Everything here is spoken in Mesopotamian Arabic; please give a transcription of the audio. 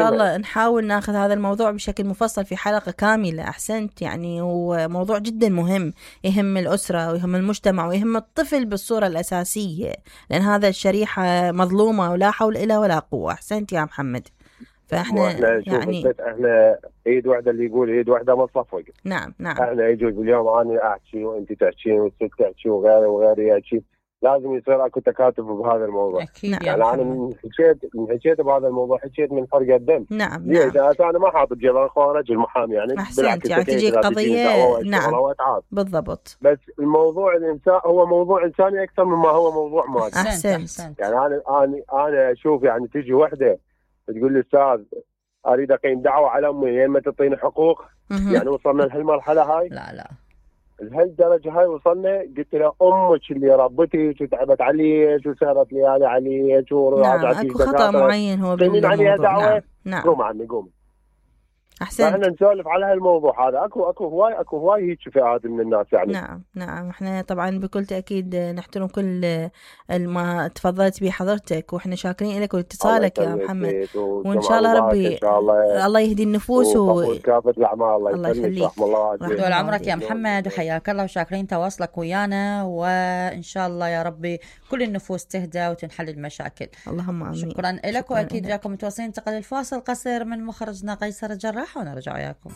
شاء الله نحاول ناخذ هذا الموضوع بشكل مفصل في حلقة كاملة. أحسنت، يعني هو موضوع جدا مهم، يهم الأسرة ويهم المجتمع ويهم الطفل بالصورة الأساسية، لأن هذا الشريحة مظلومة ولا حول إلا ولا قوة. أحسنت يا محمد. فإحنا يعني احنا ايد واحدة، اللي يقول ايد واحدة ما تصفق. نعم نعم. احنا يجوز اليوم انا احكي وانت تحكي والست تحكي وغيري يحكي، لازم يصير اكو تكاتف بهذا الموضوع. اكيد يعني انا من حكيت بهذا الموضوع، حكيت من حرقة الدم. نعم ليش؟ انا ما حاطط جبل خارج المحامي يعني. أحسنت، يعني تجي قضية. نعم بالضبط. بس الموضوع الانسان هو موضوع انساني اكثر مما هو موضوع مادي. أحسنت. يعني انا اشوف يعني تجي وحده تقول لي استاذ اريد اقيم دعوه على امي، يا اما تعطيني حقوق. يعني وصلنا لهالمرحله هاي؟ لا لهالدرجه هاي وصلنا. قلت له امك اللي ربتك وتعبت عليك وسهرت ليالي عليك نعم اكو خطا معين هو بالموضوع. نعم قوم عني قوم. احسنت. احنا نسولف على هالموضوع هذا. اكو هواي هيك فئات من الناس يعني. نعم احنا طبعا بكل تاكيد نحترم كل ما تفضلت به حضرتك، واحنا شاكرين لك واتصالك يا محمد، وان شاء الله ربي الله يهدي النفوس وكافة الاعمال. الله يخليك طول عمرك يا محمد وحياك الله، وشاكرين تواصلك ويانا، وان شاء الله يا ربي كل النفوس تهدى وتنحل المشاكل. اللهم امين. شكرا لك، واكيد وياكم متواصلين. انتقل الفاصل قصير من مخرجنا قيصر الجراح ونرجع وياكم.